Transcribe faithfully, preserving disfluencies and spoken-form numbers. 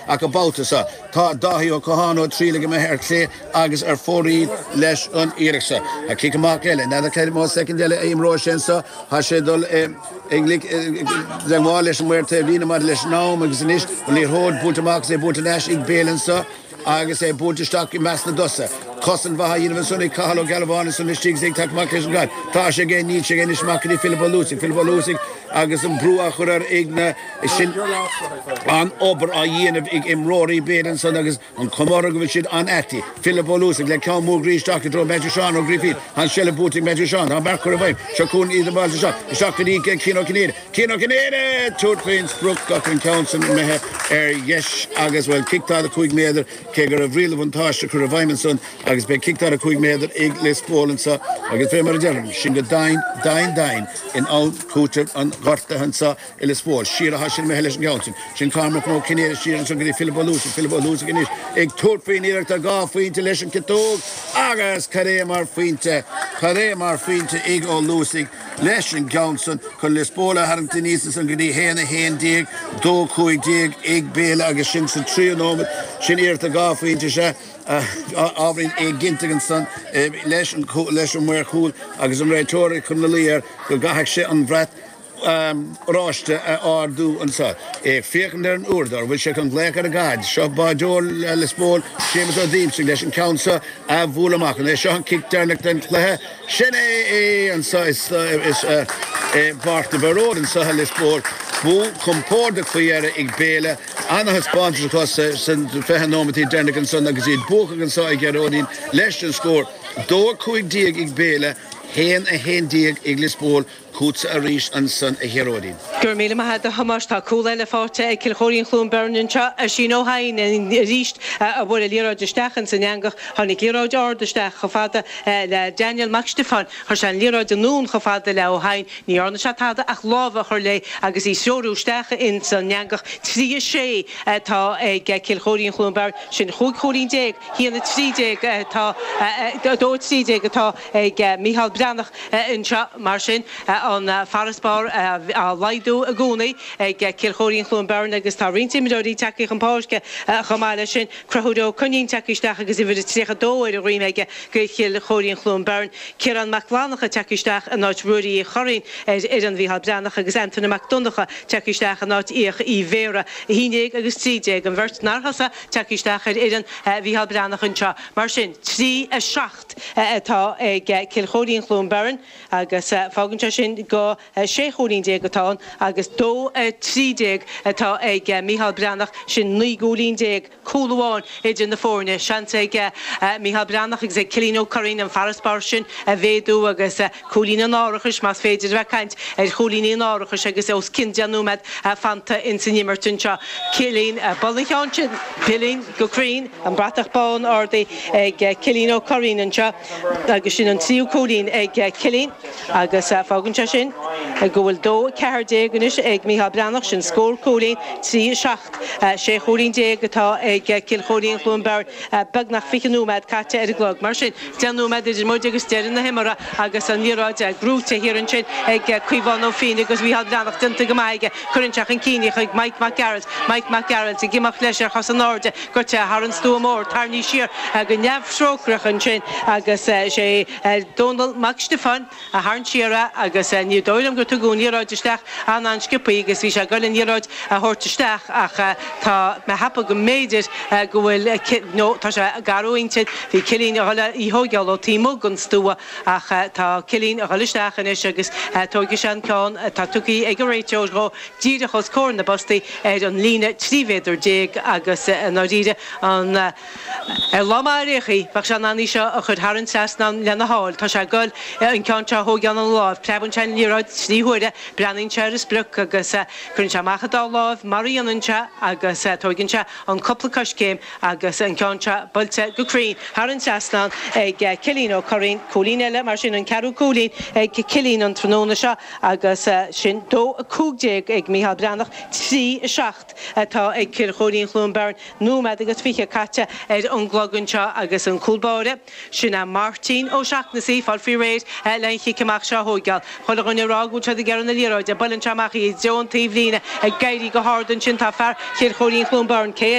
Ach an babhta seo tá Dáithí Ó Catháin Ó Tríle go mbeidh ar clé agus ar fóraoil leis an iarracht seo. A cic amach eile, n'fheadar cé mhéad soicind eile a imreoidh sé anseo, tá sé ag dul i dteagmháil leis an maor taobhlíne maidir leis an am agus anois an liathróid buailte amach agus é buailte ar ais ag Béal anseo agus é buailte isteach i measc na dtosaithe. Cosaint mhaith á dhéanamh ansan ag Cathal Ó Gealbháin ansan istigh agus é ag teacht amach leis an gcaid. Tá sé aige, níl sé aige anois amach go dtí Philip Ó Luasaigh, Philip Ó Luasaigh agus an brú á chur air ag na sin an obair á dhéanamh ag imreoirí Béal ansan agus an chuma orthu go bhfuil siad an-aite. Philip Ó Luasaigh le ceann mór groí isteach i dtreo Matthew Seán Ó Grifín. An seilbh buaite ag Matthew Seán. Tá an beart curtha i bhfeidhm. Seo chugainn iad an bhailte seo. Isteach go dtí Cian Ó Cinnéide. Cian Ó Cinnéide! Tabhairt faoin sprioc ach an ceann san imithe ar dheis agus, bhuel, cic daichead a cúig méadar, cé go raibh riail an bhuntáiste curtha i bhfeidhm ansan agus beidh cic daichead a cúig méadar ag Lios Póil anso agus fé mar a deirim, sin go domhain, domhain, domhain in am cúitimh an ghortaithe anso i Lios Póil. Siar atá sin imithe leis an gceann sin. Sin Cormac Ó Cinnéide siar ansan go dtí Philip Ó Luasaigh. Philip Ó Luasaigh anois ag tabhairt faoin iarracht ar dhá phointe leis an gciotóg agus cad é mar phointe, cad é mar phointe ag Ó Luasaigh leis an gceann san chun Lios Póil a tharraingt aníos ansan go dtí haon a haon déag, dó cúig déag ag Béal agus sin sa tríú nóiméad. Sin iarracht ar dhá phointe sea. Ábhairín éiginnte ansan leis an leis an maor cúil agus an réiteoir ag cur ina luí air go gcaithfeadh sé an brat oráiste a ardú anseo. É ag féachaint ar an uaireadóir, bhfuil sé chun glaoch ar an gcaid? Seo báideoir Lios Póil, Séamus Ó Díomasaigh, leis an ceann seo a bhualadh amach. An é seo an cic deireanach den chluiche? Sin é é anseo i bPáirc na bPearóg anseo i Lios Póil. Bua compordach faoi dheireadh ag Béal. Ana-thaispeántas acu sna fiche nóimeataí deireanacha ansan agus iad buacach anseo a Ghearóidín leis an scór dó a cúig déag ag Béal, haon a haon déag ag Lios Póil. Chugatsa arís ansan a Ghearóidín. Go raibh míle maith agat a Thomáis. Tá cúl eile faighte ag Cill Chóirín Chluain Bheirn anseo. Oisín Ó hEidhin arís a bhuail an liathróid isteach ins an eangach. Tháinig liathróid ard isteach chomh fada le Daniel Mac Stiofáin. Chuir sé an liathróid anonn chomh fada le Ó hEidhin. Ní dhearna sé tada ach lámh a chur léi agus í threorú isteach ins an eangach. Trí a sé atá ag Cill Chóirín Chluain Bheirn. Sin chúig chúilín déag. Haon a trí déag atá, dó a trí déag atá ag Mícheál Breathnach anseo. Mar sin, an farasbarr á laghdú i gcónaí ag Cill Chóirín Chluain Bheirn agus tá roinnt imreoirí tagtha chun páirce chomh maith leis sin. Conchúr Ó Coinín tagtha isteach agus uimhir a tríocha dó ar a dhroim aige do Chill Chóirín Chluain Bheirn. Ciarán Mac Fhlanncha tagtha isteach in áit Ruairí Uí Churraoin ar fhoireann Mhícheál Breathnach agus Antaine Mac Donncha tagtha isteach in áit Fhiach Uí Bhéarra. a haon déag agus trí déag, an bheirt nár thosaigh tagtha isteach ar fhoireann Mhícheál Breathnach anseo. Mar sin, trí a seacht atá ag Cill Chóirín Chluain Bheirn agus fágann sé sin go sé chúilín déag atá ann agus dó a trí déag atá ag Mícheál Breathnach, sin naoi gcúilín déag, cúl amháin idir na foirne. Seans ag Mícheál Breathnach agus ag Cillian Ó Curraoin an farasbarr sin a mhéadú agus cúilín an árachais, más féidir a bheith ag caint ar chúilíní an árachais agus os cionn deich nóiméad fanta ins an imirt anseo. Cillian, buail an ceann sin, Cillian go cruinn, an bratach bán ardaithe ag Cillian Ó Curraoin anseo agus sin an tríú cúilín ag Cillian agus fágann sé sin go bhfuil dó a ceathair déag anois ag Mícheál Breathnach, sin scór cúilín, trí a seacht, sé chúilín déag atá ag Cill Chóirín Chluain Bheirn, beagnach fiche nóiméad caite ar an gclog. Mar sin, deich nóiméad idir muid agus deireadh na himeartha agus an liathróid gnóite thiar ansin ag Caomhán Ó Fínn agus Mícheál Breathnach déanta go maith aige. Cuireann sé chun cinn í chuig Mike Mac Gearailt. Mike Mac Gearailt ag imeacht leis ar chos in airde, goite thar an stua mór, tarraingthe siar go neamhthrócaireach ansin agus sé Dónal Mac Stiofáin a tharraing siar é agus ní dóigh liom gur tugadh an liathróid isteach an-an-sciobthaí agus bhí sé ag goil an liathróid a thabhairt isteach ach tá mé ag ceapadh go mb'fhéidir go bhfuil nó tá sé gar ó intinn bhí Cillian a dhul í thóigeáil ó taobh amuigh den stua ach tá Cillian a dhul isteach anois agus tógfaidh sé an ceann atá tugtha ag an réiteoir dhó díreach os comhair na bpostaí ar an líne trí mhéadar déag agus i ndáiríre an ar lá maith ar aon chaoi bheadh sé in ann í seo a chur thar an trasnán lena sháil. Tá sé ag goil an ceann seo a thóigeáil ina láimh. Preabann sé an liathróid trí huaire, breathnaíonn sé ar a sprioc agus cuireann sé amach a dá láimh mar a dhéanann sé agus tóigeann sé an cúpla coiscéim agus an ceann seo buailte go cruinn thar an trasnán ag Cillian Ó Curraoin. Cúilín eile mar sin, an ceathrú cúilín ag Cillian an tráthnóna seo agus sin dó a cúig déag ag Mícheál Breathnach, trí a seacht atá ag Cill Chóirín Chluain Bheirn. Nóiméad agus fiche caite ar an gclog anseo agus an cúl báire, sin é Máirtín Ó Seachnasaigh, fáil faoi réir le an chic amach seo a thóigeáil. Chuile dhuine ag rá go bhfuil siad ag iarraidh na liathróide, buaileann sé amach í i dtreo an taobh líne, ag éirí go hard ansin tá fear Chill Chóirín Chluain Bheirn, cé eile?